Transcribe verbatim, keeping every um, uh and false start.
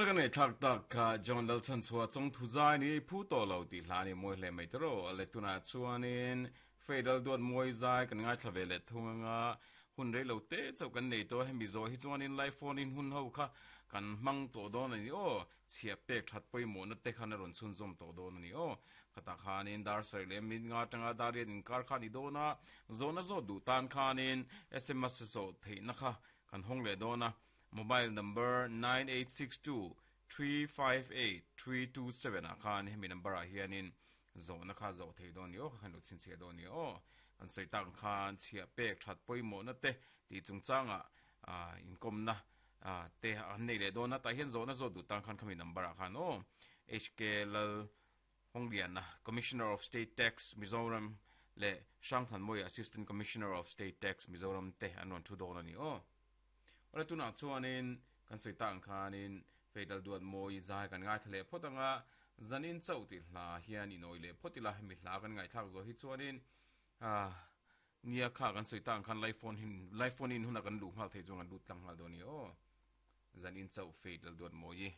Tuna kan nei thak tak kha John Lalchan chua chong thu zai ni phu to lo ti hla ni moi hle mai tro le tuna chuanin fedal duat moi zai kan ngai thlave le thunga hun rei lo te chau kan nei to hemi zo hi chuanin live phone in hun ho kha kan mang to don ani o chhia pek that poi mo na te khan ron chun zom to don ani o khata khanin dar sar le min nga tanga dar in kar kha ni dona zona zo du tan khanin S M S so thei na kha kan hong le dona. Mobile number nine eight six two three five eight three two seven a khan hemi number a hianin zo na kha zo thei don ni o khan lo chin che don ni o. An sei tang khan chhia pek that poi mo na te ti chung changa a inkom na a te an nei le don na ta hian zo na zo du tang khan khami number a khan o. H K Lal Honglian na, Commissioner of State Tax Mizoram, le Shangthan Moi, Assistant Commissioner of State Tax Mizoram te an ron thu don ani o. Ora tuna chuanin kan soi tang khanin fedal duat moi zai kan ngai thale photanga zanin chau ti hla hian inoi le photila. Hemi hla kan ngai thak zo hi chuanin a nia kha kan soi tang khan live phone hin live phone in huna kan lu ngal thei chuan kan lut tlang ngal do ni o. Zanin chau, Fedal Duat Moi.